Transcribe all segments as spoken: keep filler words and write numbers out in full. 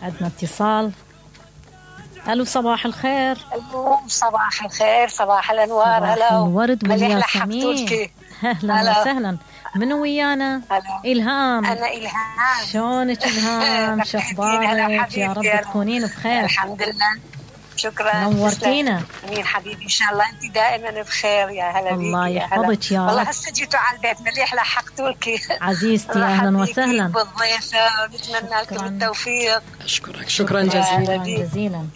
عندنا اتصال. الو صباح الخير. الو صباح الخير، صباح الانوار. هلا الورد والياسمين. اهلا وسهلا. منو ويانا؟ الهام. انا الهام. شلونك الهام؟ شو اخبارك؟ يا رب تكونين بخير. الحمد لله، شكرا. نورتينا. امين حبيبي، ان شاء الله انت دائما بخير. يا هلا بيك. الله يحفظك يا رب. والله هسه جيتوا على البيت مليح، لحقتوا لك عزيزتي. اهلا وسهلا بالضيفه، ونتمنى لكم التوفيق. اشكرك شكرا جزيلا جزيلا.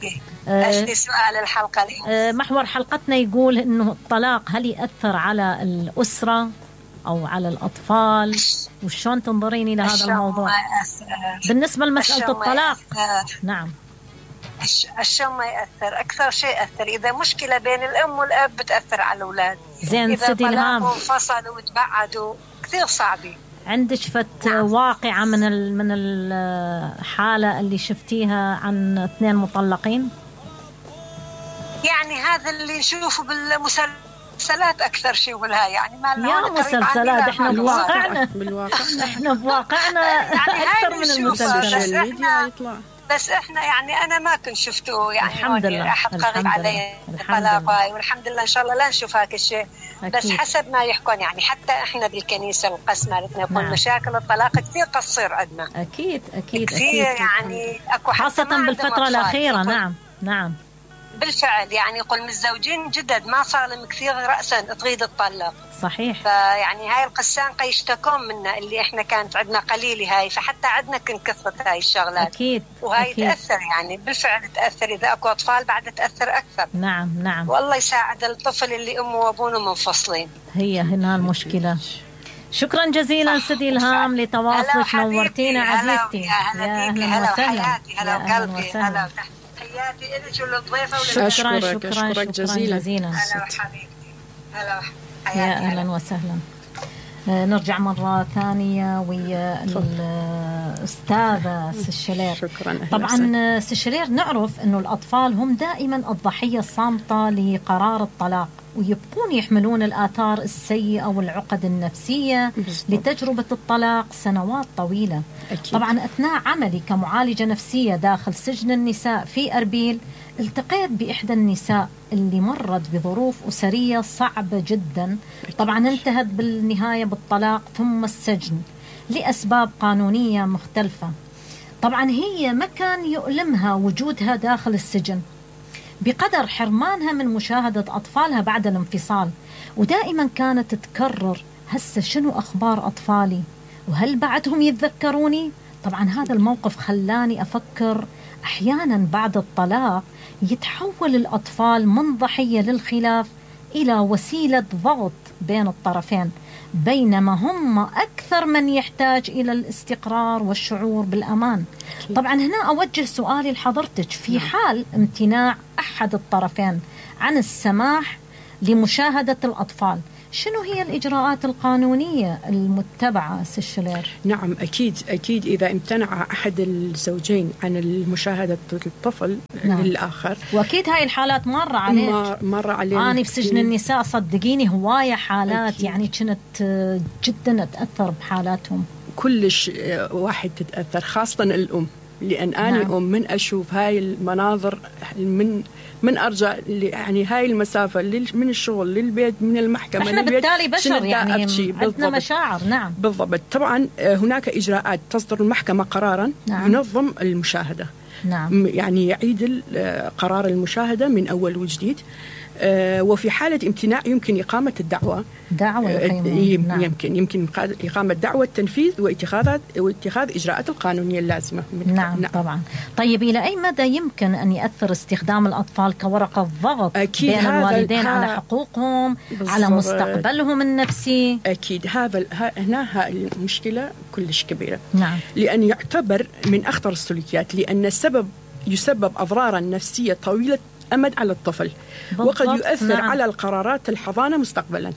اجل سؤال الحلقه اليوم. محور حلقتنا يقول انه الطلاق هل ياثر على الاسره او على الاطفال، وشلون تنظرين الى هذا الموضوع بالنسبه لمساله الطلاق؟ نعم. الشم ما يأثر، أكثر شيء يأثر إذا مشكلة بين الأم والأب بتأثر على الأولاد. زين. إذا طلقوا وانفصلوا وتبعدوا كثير صعبة. عندك فت نعم. واقعة من من الحالة اللي شفتيها عن اثنين مطلقين؟ يعني هذا اللي نشوفه بالمسلسلات أكثر شيء ولا يعني ما يا مسلسلات. إحنا بواقعنا بالواقع إحنا بواقعنا يعني أكثر من المسلسلات. بس احنا يعني انا ما كنت شفته يعني الحمد لله احد قريب علي الطلاق، والحمد لله ان شاء الله لا نشوف هاك الشيء. بس حسب ما يحكون يعني حتى احنا بالكنيسه القسم مالتنا يقول نعم. مشاكل الطلاق كثير قصير عندنا. اكيد اكيد كثير أكيد. يعني اكو خاصه بالفتره الاخيره. نعم نعم بالفعل. يعني يقول متزوجين جدد ما صار لهم كثير رأسا تريد تطلق. صحيح. فيعني هاي القسان يشتكون منا اللي احنا كانت عندنا قليله هاي، فحتى عندنا كنت كثرت هاي الشغلات. اكيد. وهاي أكيد. تاثر يعني بالفعل تاثر. اذا اكو اطفال بعد تاثر اكثر. نعم نعم. والله يساعد الطفل اللي امه وابوه منفصلين. هي هنا المشكله. شكرا جزيلا سيدي الهام لتواصلك. نورتينا عزيزتي. يا اهلا وسهلا. هلا وقلبي. هلا تحياتي لك وللضيفه. شكرا شكرا شكرا, شكرا جزيلا. جزيلا. هلا حبيبتي. هلا يا اهلا وسهلا. نرجع مرة ثانية ويا الأستاذة سشلير. شكرا. طبعا سشلير نعرف أنه الأطفال هم دائما الضحية الصامتة لقرار الطلاق، ويبقون يحملون الآثار السيئة والعقد النفسية بالضبط. لتجربة الطلاق سنوات طويلة. أكيد. طبعا أثناء عملي كمعالجة نفسية داخل سجن النساء في أربيل التقيت بإحدى النساء اللي مرت بظروف أسرية صعبة جدا. طبعا انتهت بالنهاية بالطلاق ثم السجن لأسباب قانونية مختلفة. طبعا هي ما كان يؤلمها وجودها داخل السجن بقدر حرمانها من مشاهدة أطفالها بعد الانفصال، ودائما كانت تكرر هسه شنو أخبار أطفالي وهل بعدهم يتذكروني. طبعا هذا الموقف خلاني أفكر أحيانا بعد الطلاق يتحول الأطفال من ضحية للخلاف إلى وسيلة ضغط بين الطرفين، بينما هم أكثر من يحتاج إلى الاستقرار والشعور بالأمان. طبعا هنا أوجه سؤالي لحضرتك، في حال امتناع أحد الطرفين عن السماح لمشاهدة الأطفال شنو هي الإجراءات القانونية المتبعة سشلير؟ نعم أكيد أكيد إذا امتنع أحد الزوجين عن المشاهدة الطفل نعم. للآخر، وأكيد هاي الحالات مرة عليك. مرة عليك. أنا في سجن النساء صدقيني هواية حالات أكيد. يعني كنت جدا أتأثر بحالاتهم. كلش واحد تتأثر، خاصة الأم، لأن أنا نعم. أم من أشوف هاي المناظر من من أرجع يعني هاي المسافة من الشغل للبيت من المحكمة احنا للبيت بالتالي بشر يعني عندنا مشاعر. نعم بالضبط. طبعا هناك إجراءات تصدر المحكمة قرارا نعم. ينظم المشاهدة. نعم. يعني يعيد قرار المشاهدة من أول وجديد. آه وفي حالة امتناع يمكن إقامة الدعوة. دعوة آه نعم. يمكن يمكن إقامة دعوة تنفيذ واتخاذ واتخاذ إجراءات القانونية اللازمة. نعم, نعم طبعا. طيب إلى أي مدى يمكن أن يأثر استخدام الأطفال كورقة ضغط بين الوالدين على حقوقهم بالزبط. على مستقبلهم النفسي؟ أكيد هذا هنا المشكلة كلش كبيرة. نعم. لأن يعتبر من أخطر السلوكيات، لأن السبب يسبب أضرارا نفسية طويلة أمد على الطفل، وقد يؤثر نعم. على القرارات الحضانة مستقبلا.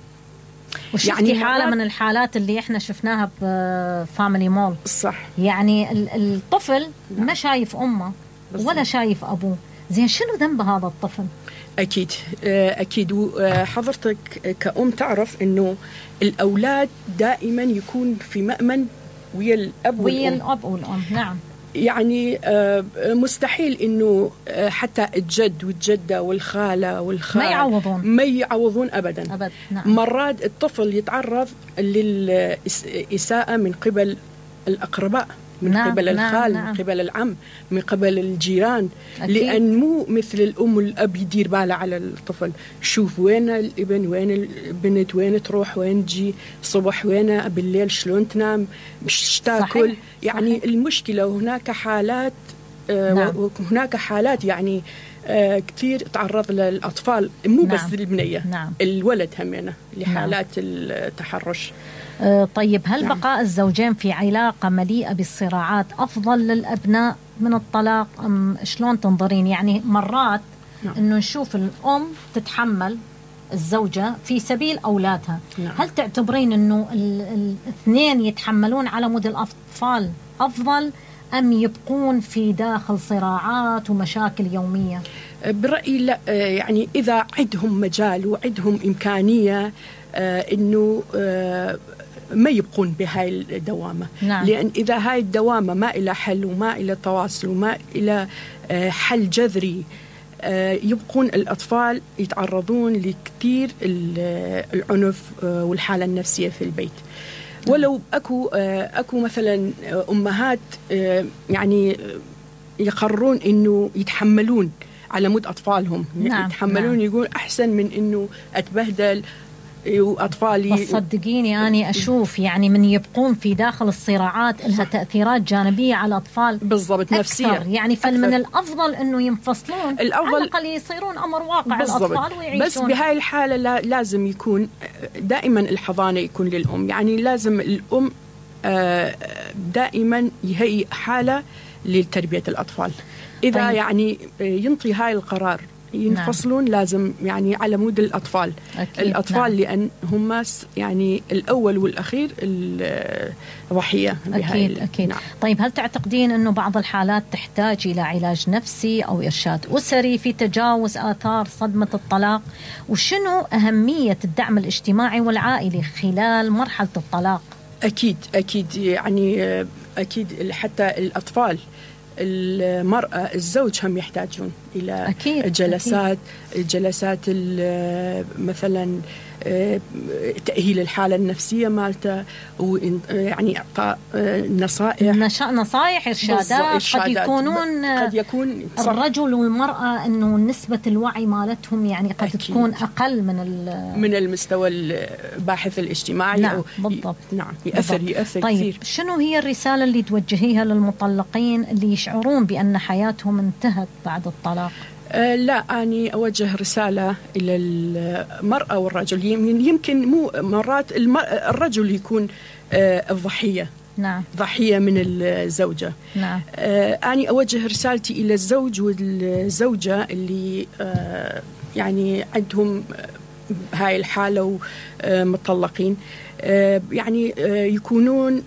يعني حالة من الحالات اللي احنا شفناها بفاميلي مول. صح. يعني الطفل نعم. ما شايف أمه بالضبط. ولا شايف أبوه. زين شنو ذنب هذا الطفل؟ أكيد أكيد. وحضرتك كأم تعرف إنه الأولاد دائما يكون في مأمن ويا الأب ويا الأب والأم. نعم. يعني مستحيل انه حتى الجد والجده والخاله والخال ما يعوضون ما يعوضون ابدا, أبد. نعم. مرات الطفل يتعرض للإساءة من قبل الأقرباء، من نعم. قبل الخال، نعم. من قبل العم، من قبل الجيران. أكيد. لأن مو مثل الأم والأب يدير باله على الطفل، شوف وين الابن، وين البنت، وين تروح، وين تجي، صبح وين، بالليل شلون تنام، مش تاكل. يعني صحيح. المشكلة هناك حالات آه نعم. وهناك حالات يعني آه كثير تعرض للأطفال، مو نعم. بس البنية، نعم. الولد همينة لحالات نعم. التحرش. طيب هل نعم. بقاء الزوجين في علاقة مليئة بالصراعات أفضل للأبناء من الطلاق أم شلون تنظرين؟ يعني مرات نعم. أنه نشوف الأم تتحمل الزوجة في سبيل أولادها، نعم. هل تعتبرين أنه الاثنين يتحملون على مود الأطفال أفضل أم يبقون في داخل صراعات ومشاكل يومية؟ برأيي لا، يعني إذا عندهم مجال وعندهم إمكانية أنه ما يبقون بهاي الدوامة. نعم. لأن إذا هاي الدوامة ما إلى حل وما إلى تواصل وما إلى حل جذري، يبقون الأطفال يتعرضون لكثير العنف والحالة النفسية في البيت. ولو أكو أكو مثلا أمهات يعني يقررون إنه يتحملون على مود أطفالهم. نعم. يتحملون. نعم. يقول أحسن من إنه أتبهدل وأطفالي. بس صدقيني أنا أشوف يعني من يبقون في داخل الصراعات لها تأثيرات جانبية على الأطفال بالضبط نفسية. يعني فمن الأفضل إنه ينفصلون، الأفضل على الأقل يصيرون أمر واقع بالضبط. الأطفال ويعيشون. بس بهاي الحالة لا لازم يكون دائما الحضانة يكون للأم، يعني لازم الأم دائما يهيئ حالة لتربية الأطفال. إذا طيب. يعني ينطي هاي القرار ينفصلون. نعم. لازم يعني على مود الأطفال. أكيد. الأطفال. نعم. لأن هم يعني الأول والأخير الضحية. أكيد أكيد. نعم. طيب هل تعتقدين أنه بعض الحالات تحتاج إلى علاج نفسي أو إرشاد أسري في تجاوز آثار صدمة الطلاق؟ وشنو أهمية الدعم الاجتماعي والعائلي خلال مرحلة الطلاق؟ أكيد أكيد يعني أكيد حتى الأطفال، المرأة، الزوج هم يحتاجون إلى أكيد. جلسات أكيد. جلسات مثلا تأهيل الحالة النفسية مالته، ويعني إعطاء نصائح نصائح إرشادات. قد يكونون قد يكون الرجل والمرأة إنه نسبة الوعي مالتهم يعني قد أكيد. تكون أقل من من المستوى الباحث الاجتماعي. نعم. بالضبط. نعم يأثر بالضبط. يأثر طيب كثير. شنو هي الرسالة اللي توجهيها للمطلقين اللي يشعرون بأن حياتهم انتهت بعد الطلاق؟ أه لا، أني أوجه رسالة إلى المرأة والرجل. يمكن مو مرات الرجل يكون أه الضحية. نعم. ضحية من الزوجة. نعم. أه أني أوجه رسالتي إلى الزوج والزوجة اللي أه يعني عندهم هاي الحالة ومطلقين، أه يعني أه يكونون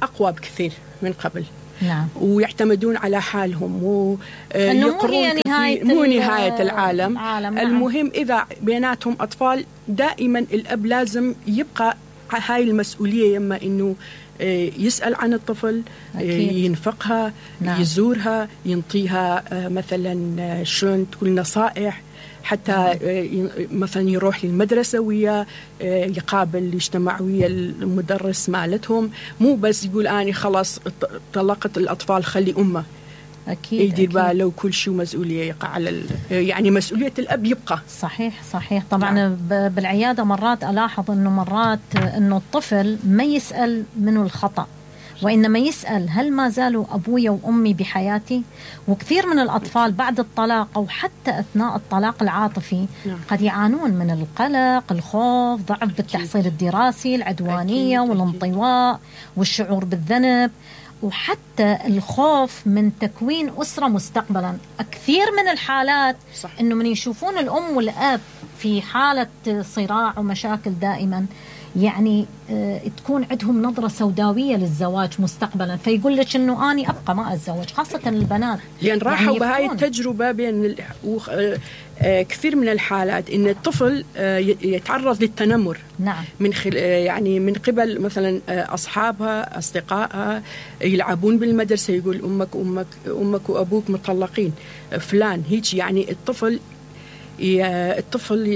أقوى بكثير من قبل. نعم. ويعتمدون على حالهم ويقرون مو نهاية, مو نهاية العالم. العالم. المهم إذا بيناتهم أطفال دائما الأب لازم يبقى هاي المسؤولية، يما إنه يسأل عن الطفل. أكيد. ينفقها. نعم. يزورها، ينطيها مثلا شلون تقول نصائح، حتى مثلا يروح للمدرسة ويا يقابل يجتمع ويا المدرس مالتهم، مو بس يقول أنا خلاص طلقت الأطفال خلي أمه. أكيد. يدير باله وكل شيء مسؤولية يقع على يعني مسؤولية الأب يبقى. صحيح صحيح. طبعا نعم. بالعيادة مرات ألاحظ إنه مرات إنه الطفل ما يسأل منه الخطأ، وإنما يسأل هل ما زالوا أبوي وأمي بحياتي؟ وكثير من الأطفال بعد الطلاق أو حتى أثناء الطلاق العاطفي نعم. قد يعانون من القلق، الخوف، ضعف بالتحصيل الدراسي، العدوانية أكيد. والانطواء والشعور بالذنب، وحتى الخوف من تكوين أسرة مستقبلا. كثير من الحالات صح. إنه من يشوفون الأم والأب في حالة صراع ومشاكل دائما يعني آه تكون عندهم نظرة سوداوية للزواج مستقبلا، فيقول لك إنه أنا أبقى ما أتزوج، خاصة البنات لأن راحوا يعني بهاي التجربة بين كثير من الحالات إن الطفل يتعرض للتنمر. نعم. من خل يعني من قبل مثلا أصحابها أصدقائها يلعبون بالمدرسة، يقول أمك أمك أمك وأبوك مطلقين فلان هيك. يعني الطفل الطفل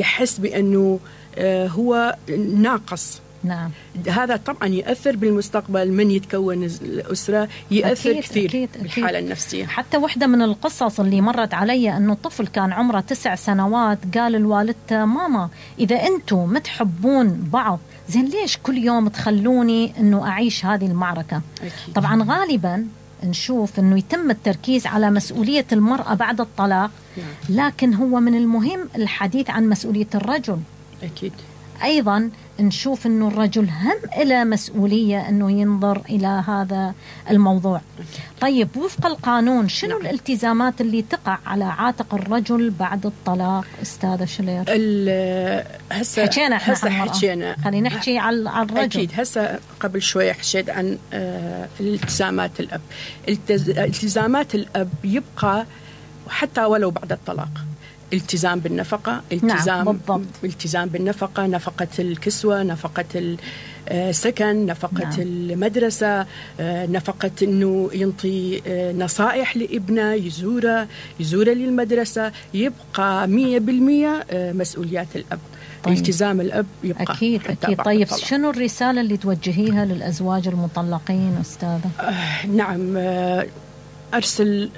يحس بأنه هو ناقص. نعم. هذا طبعا يأثر بالمستقبل من يتكون الأسرة، يأثر أكيد كثير أكيد بالحالة أكيد. النفسية. حتى واحدة من القصص اللي مرت علي أنه الطفل كان عمره تسع سنوات، قال لوالدته ماما إذا أنتم متحبون بعض زين ليش كل يوم تخلوني أنه أعيش هذه المعركة؟ أكيد. طبعا غالبا نشوف أنه يتم التركيز على مسؤولية المرأة بعد الطلاق، لكن هو من المهم الحديث عن مسؤولية الرجل. أكيد. أيضا نشوف أنه الرجل هم إلى مسؤولية أنه ينظر إلى هذا الموضوع. طيب وفق القانون شنو نعم. الالتزامات اللي تقع على عاتق الرجل بعد الطلاق أستاذة شلير؟ هسه حكينا احنا هسه حكينا خلينا نحكي على الرجل. أكيد. هسه قبل شوية حكيت عن آه الالتزامات الأب. التزامات الأب يبقى حتى ولو بعد الطلاق. التزام بالنفقة، التزام نعم بالضبط. التزام بالنفقة، نفقة الكسوة، نفقة السكن، نفقة نعم. المدرسة، نفقة إنه ينطي نصائح لابنه، يزوره يزوره للمدرسة، يبقى مية بالمية مسؤوليات الأب. طيب. التزام الأب يبقى أكيد أكيد. طيب الطلاق. شنو الرسالة اللي توجهيها للأزواج المطلقين أستاذة؟ آه نعم آه أرسل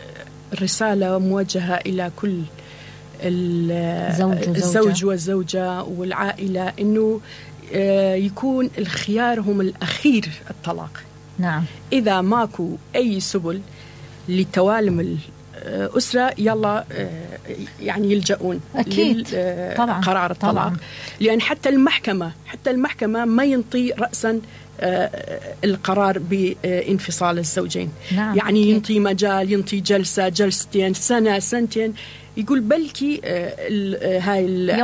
رسالة موجهة إلى كل الزوج والزوجة والعائلة إنه يكون الخيار هم الأخير الطلاق. نعم. إذا ماكو أي سبل لتوالم الأسرة يلا يعني يلجؤون لقرار الطلاق. طبعا. لأن حتى المحكمة حتى المحكمة ما ينطي رأسا القرار بانفصال الزوجين. نعم. يعني أكيد. ينطي مجال، ينطي جلسة جلستين سنة سنتين، يقول بلكي هاي العائلة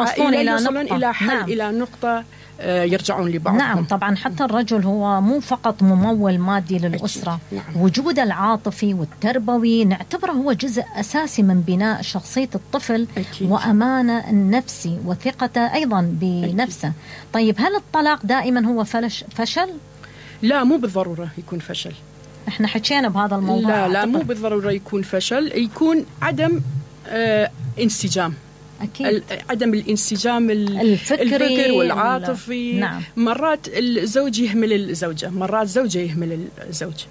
يوصلون إلى حل. نعم. إلى نقطة يرجعون لبعضهم. نعم طبعا. حتى الرجل هو مو فقط ممول مادي للأسرة. نعم. وجود العاطفي والتربوي نعتبره هو جزء أساسي من بناء شخصية الطفل. أكيد. وأمانة النفسي وثقته أيضا بنفسه. أكيد. طيب هل الطلاق دائما هو فلش فشل؟ لا مو بالضرورة يكون فشل. احنا حكينا بهذا الموضوع. لا لا مو بالضرورة يكون فشل، يكون عدم آه انسجام. أكيد. عدم الانسجام الفكري, الفكري والعاطفي. نعم. مرات الزوج يهمل الزوجة، مرات الزوجة يهمل الزوج.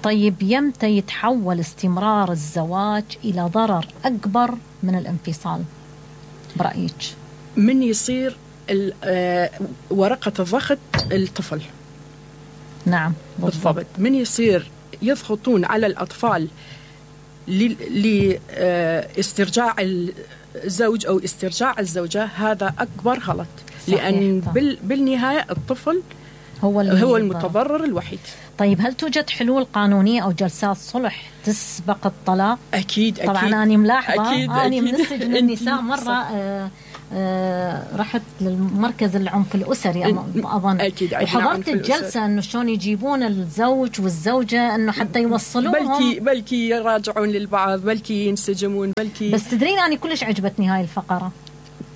طيب يمتى يتحول استمرار الزواج إلى ضرر أكبر من الانفصال برأيك؟ من يصير ورقة الضغط الطفل. نعم بالضبط. من يصير يضغطون على الأطفال لاسترجاع الزوج أو استرجاع الزوجة، هذا أكبر غلط. لأن بال بالنهاية الطفل هو, هو المتضرر الوحيد. طيب هل توجد حلول قانونية أو جلسات صلح تسبق الطلاق؟ أكيد أكيد. طبعا أنا ملاحظة أكيد أنا أكيد. من السجن النساء مرة آه آه رحت للمركز العنف الأسري أظن. أكيد. وحضرت الجلسة إنه شلون يجيبون الزوج والزوجة إنه حتى يوصلوهم، بلكي بلكي يراجعون للبعض، بلكي ينسجمون، بلكي. بس تدرين أنا كلش عجبتني هاي الفقرة،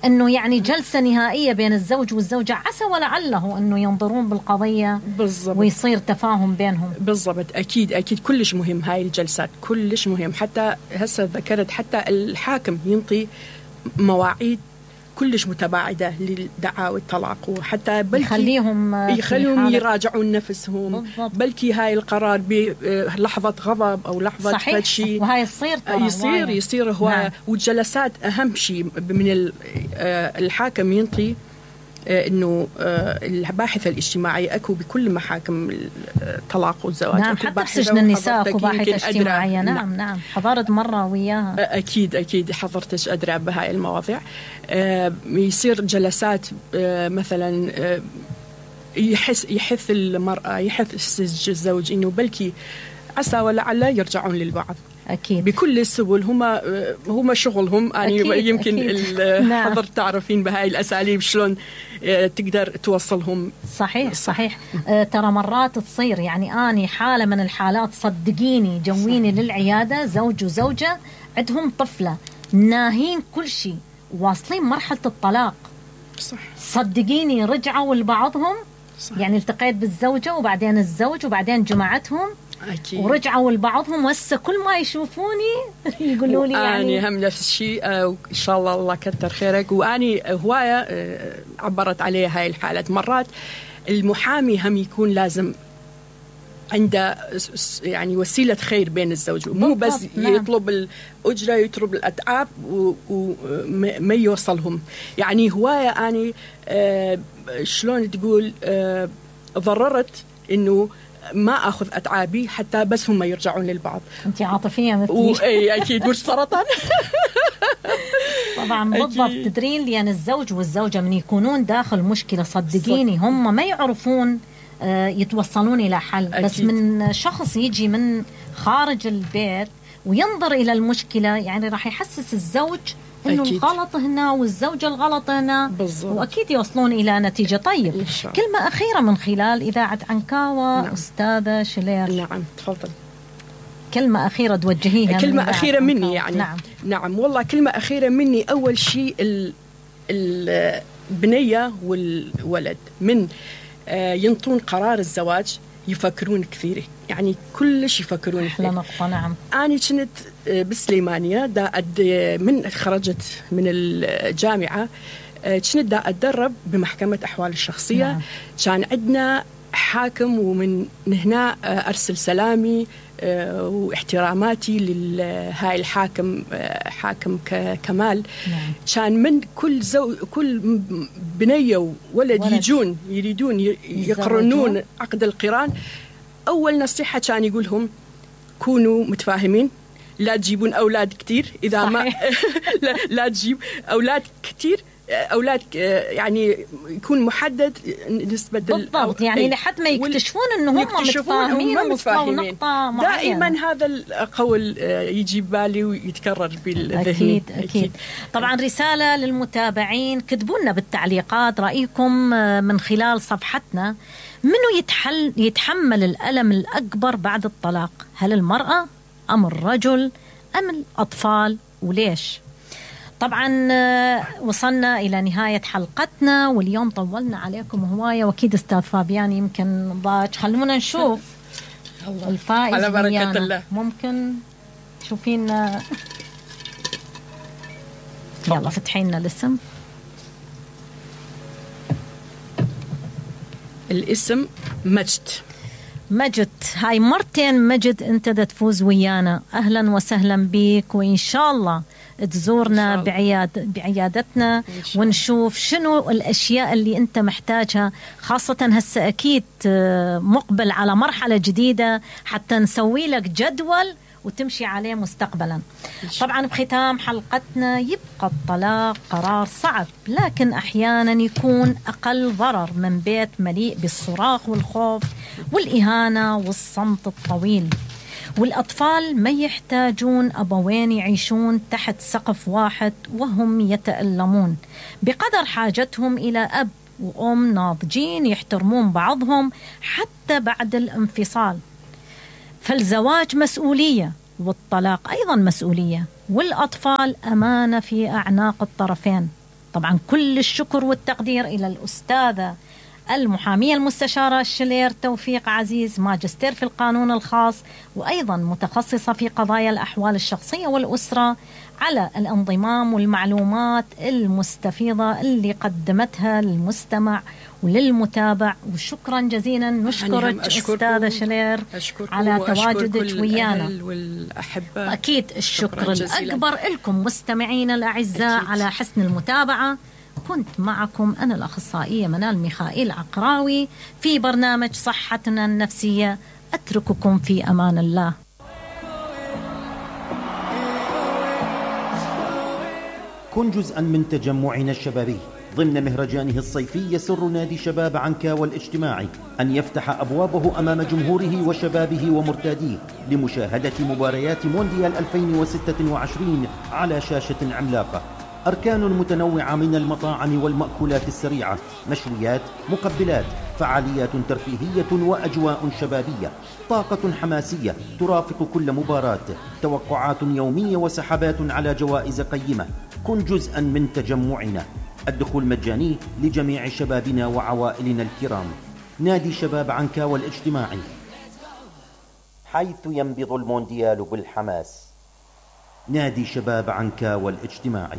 إنه يعني جلسة نهائية بين الزوج والزوجة، عسى ولعله إنه ينظرون بالقضية بالضبط ويصير تفاهم بينهم. بالضبط. أكيد أكيد كلش مهم هاي الجلسات، كلش مهم. حتى هسه ذكرت حتى الحاكم ينطي مواعيد كلش متباعدة للدعاوى الطلاق، وحتى بلكي يخليهم يخليهم يراجعون نفسهم. بالضبط. بلكي هاي القرار بلحظة غضب أو لحظة فتشي، وهاي يصير يصير يصير هو. نعم. والجلسات أهم شيء من الحاكم ينطي إنه الباحث الاجتماعي أكو بكل محاكم الطلاق والزواج. نعم حتى بسجن النساء أكو باحثة اجتماعية. نعم نعم, نعم. حضرت مرة وياها. أكيد أكيد حضرتش أدرى بهاي المواضيع. يصير جلسات مثلا يحس يحث المرأة، يحث الزوج إنه بلكي عسى ولعل يرجعون للبعض. أكيد. بكل السبل. هم هم شغلهم يعني أكيد. يمكن الحضر تعرفين بهاي الأساليب شلون تقدر توصلهم. صحيح صحيح. آه ترى مرات تصير يعني أنا حالة من الحالات صدقيني جويني صحيح. للعيادة زوج وزوجة عندهم طفلة ناهين كل شيء واصلين مرحلة الطلاق. صح. صدقيني رجعوا لبعضهم. صح. يعني التقيت بالزوجة وبعدين الزوج وبعدين جماعتهم أكيد. ورجعوا لبعضهم وهسه كل ما يشوفوني يقولوا لي يعني أنا هم نفس الشيء. آه إن شاء الله الله كتر خيرك. وأني هواية آه عبرت عليها هاي الحالات. مرات المحامي هم يكون لازم عنده يعني وسيلة خير بين الزوج مو بس نعم. يطلب الأجرة يطلب الأتعاب وما يوصلهم. يعني هواية أني آه شلون تقول آه ضررت إنه ما أخذ أتعابي حتى بس هم يرجعون للبعض. أنت عاطفية مثلي. وأي أكيد مش سرطان. طبعا بالضبط. تدرين لأن الزوج والزوجة من يكونون داخل مشكلة صدقيني هم ما يعرفون يتوصلون إلى حل. أكيد. بس من شخص يجي من خارج البيت وينظر إلى المشكلة يعني راح يحسس الزوج إنه أكيد. الغلط هنا والزوجة الغلط هنا بالزبط. وأكيد يوصلون إلى نتيجة. طيب كلمة أخيرة من خلال إذاعة عنكاوة. نعم. أستاذة شلير. نعم تفضل. كلمة أخيرة توجهيها. كلمة أخيرة مني يعني. نعم. نعم والله كلمة أخيرة مني. أول شيء البنية والولد من ينطون قرار الزواج يفكرون كثير يعني كلش يفكرون كثير. نقطة. نعم. أنا كنت بسليمانية دا أد من خرجت من الجامعة كنت دا أتدرب بمحكمة أحوال الشخصية. نعم. كان عندنا حاكم ومن هنا أرسل سلامي واحتراماتي لهاي الحاكم حاكم كمال. نعم. كان من كل زو كل بنية وولد ولد. يجون يريدون يقرنون عقد القران أول نصيحة كان يقولهم كونوا متفاهمين لا تجيبون أولاد كتير إذا صحيح. ما لا, لا تجيب أولاد كتير أولاد يعني يكون محدد نسبة بالضبط يعني لحد ما يكتشفون إنه هم متفاهمين ووصلوا نقطة معينة. دائما هذا القول يجي بالي ويتكرر بالذهن. أكيد, أكيد أكيد. طبعا رسالة للمتابعين كتبوا لنا بالتعليقات رأيكم من خلال صفحتنا. منو يتحل يتحمل الألم الأكبر بعد الطلاق؟ هل المرأة أم الرجل أم الأطفال وليش؟ طبعا وصلنا إلى نهاية حلقتنا واليوم طولنا عليكم هواية وأكيد أستاذ فابيان يمكن ضاج. خلونا نشوف الفائز على بركة الله. ممكن تشوفين يلا فتحينا الاسم. الاسم مجد. مجد هاي مرتين مجد انت دا تفوز ويانا. أهلا وسهلا بيك وإن شاء الله تزورنا بعياد بعيادتنا ونشوف شنو الأشياء اللي أنت محتاجها خاصة هسه أكيد مقبل على مرحلة جديدة حتى نسوي لك جدول وتمشي عليه مستقبلا. طبعا بختام حلقتنا يبقى الطلاق قرار صعب لكن أحيانا يكون أقل ضرر من بيت مليء بالصراخ والخوف والإهانة والصمت الطويل. والأطفال ما يحتاجون أبوين يعيشون تحت سقف واحد وهم يتألمون بقدر حاجتهم إلى أب وأم ناضجين يحترمون بعضهم حتى بعد الانفصال. فالزواج مسؤولية والطلاق أيضا مسؤولية والأطفال أمانة في أعناق الطرفين. طبعا كل الشكر والتقدير إلى الأستاذة المحامية المستشارة شلير توفيق عزيز ماجستير في القانون الخاص وأيضا متخصصة في قضايا الأحوال الشخصية والأسرة على الانضمام والمعلومات المستفيضة اللي قدمتها للمستمع وللمتابع. وشكرا جزيلا نشكرك أستاذة شلير على تواجدك ويانا. أكيد الشكر الأكبر لكم مستمعين الأعزاء أكيد. على حسن المتابعة. كنت معكم أنا الأخصائية منال ميخائيل عقراوي في برنامج صحتنا النفسية. أترككم في أمان الله. كن جزءا من تجمعنا الشبابي ضمن مهرجانه الصيفي يسر نادي شباب عنكاوى الاجتماعي أن يفتح أبوابه أمام جمهوره وشبابه ومرتاديه لمشاهدة مباريات مونديال ألفين وستة وعشرين على شاشة عملاقة. أركان متنوعة من المطاعم والمأكولات السريعة، مشويات، مقبلات، فعاليات ترفيهية وأجواء شبابية، طاقة حماسية ترافق كل مباراة، توقعات يومية وسحبات على جوائز قيمة. كن جزءا من تجمعنا. الدخول مجاني لجميع شبابنا وعوائلنا الكرام. نادي شباب عنكاوى الاجتماعي، حيث ينبض المونديال بالحماس. نادي شباب عنكاوى الاجتماعي.